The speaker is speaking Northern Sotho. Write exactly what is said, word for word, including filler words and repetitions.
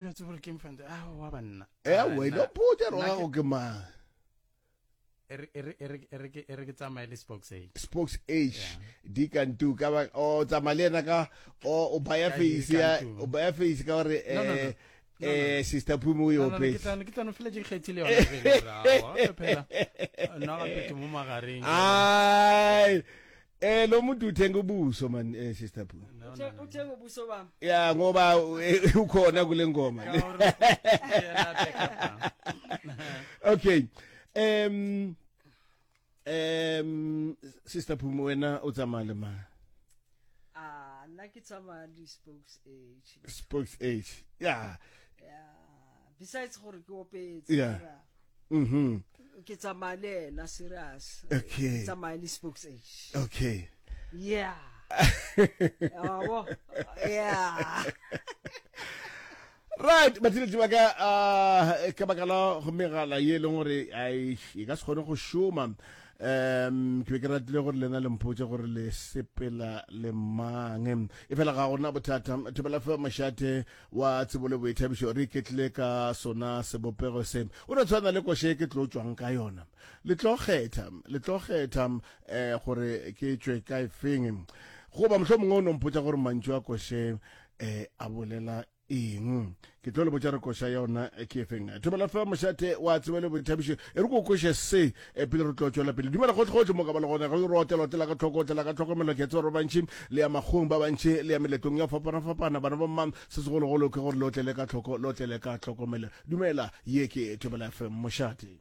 no tsebe gore ke mfante a wa banna Eh, wena mpotše gore gago ke mang. E re e re e re e re ke e re ke tsamaye le Spokes H. Spokes H di kantu ka ba o tsamaya le yena ka o o baya face ya o baya face ka gore eh eh Sister Phumi o yo pe. Ke tla ke tla no fela ke kgethile yona pele ra wa phela nna gape ke mo magareng. Ai Eh lo muntu uthenga ubuso man eh Sister Phumi. Uthenga ubuso bami. Ya ngoba eh, ukhona kule ngoma. Okay. Um um Sister Phumi wena o tsamaya le mang? Ah, nna ke tsamaya le Spokes H. Spokes H. Yeah. Yeah. Besides gore ke opetse. Yeah. Mhm. Ke tsamaya le ena serious. Okay. Ke tsamaya le Spokes H. Okay. Yeah. Yabo. Yeah. Right, batheletši ba ka uh, ka baka la go megala ye e leng gore ai e ka se kgone go šoma um ke be ke ratile gore lena le mpotše gore le sepela le mang e fela ga gona bothata thobela fe mošate wa tsebo le boithabišo re iketlile ka sona sebopego se o no tshwana le koše ke tlo tšwang ka yona le tlo kgetha le tlo kgetha um gore ke tšwe ka efeng goba mohlomongwe o no mpotša gore mantšu a koše um a bolela eng ke tlo le botša re koša yona ke efeng thobela fa mošate wa tsebo le boithabišo e re ko koše se e pele re tlo tšwela pele dumela gotlhegotlhe mo ka ba le gona ge re otela otela ka tlhoko otela ka tlhokomelo ke tseba gore ba bantši le ya makgong ba bantši le ya meletlong ya fapana-fapana bana ba mmang se segologolo ke gore le otlele ka tlhoko le otlele ka tlhokomelo dumela ye ke Thobela F M mošate.